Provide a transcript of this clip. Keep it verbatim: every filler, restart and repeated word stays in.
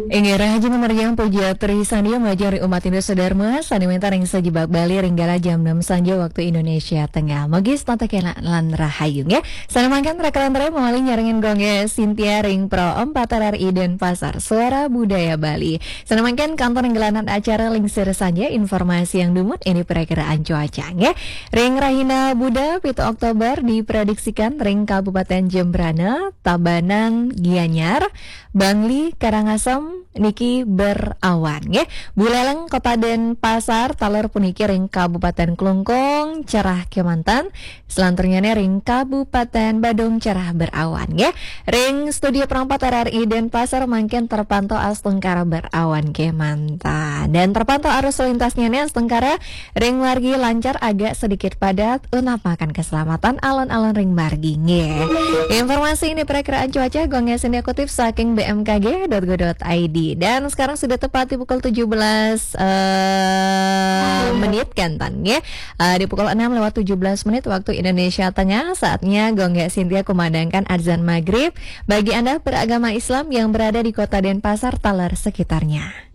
Inggih, rahajeng pamireng puja Tri Sandya majeng ring umat Hindu sadharma, sane wenten ring sajebag Bali ring galah jam enam sanja waktu Indonesia Tengah. Mugi setata kenak lan rahayu, nggih. Sane mangkin rekalan malih nyarengin Gung Sintia ring Pro empat R R I Denpasar, Suara Budaya Bali. Sane mangkin kantun ring gelanan acara Lingsir Sanja, informasi yang dumut ini perakiraan cuaca, nggih. Ring rahina Buda, pitu Oktober, diprediksikan ring Kabupaten Jembrana, Tabanan, Gianyar, Bangli, Karangasem niki berawan, nggih. Buleleng, Kota Denpasar, taler puniki ring Kabupaten Klungkung, cerah kemanten. Selanturnyane ring Kabupaten Badung, cerah berawan, nggih. Ring studio Pro empat R R I Denpasar mangkin terpantau astungkara berawan kemanten. Dan terpantau arus lintasnyane astungkara ring margi lancar, agak sedikit padat, utamakan keselamatan alon-alon ring margi, nggih. Informasi ini perakiraan cuaca, Gung Sintia kutip saking B M K G dot go dot I D. Dan sekarang sudah tepat di pukul tujuh belas, eh, menit, kan, Tan, nggih. Eh, di pukul enam lewat tujuh belas menit waktu Indonesia Tengah, saatnya Gung Sintia kumandangkan azan maghrib bagi Anda beragama Islam yang berada di Kota Denpasar taler sekitarnya.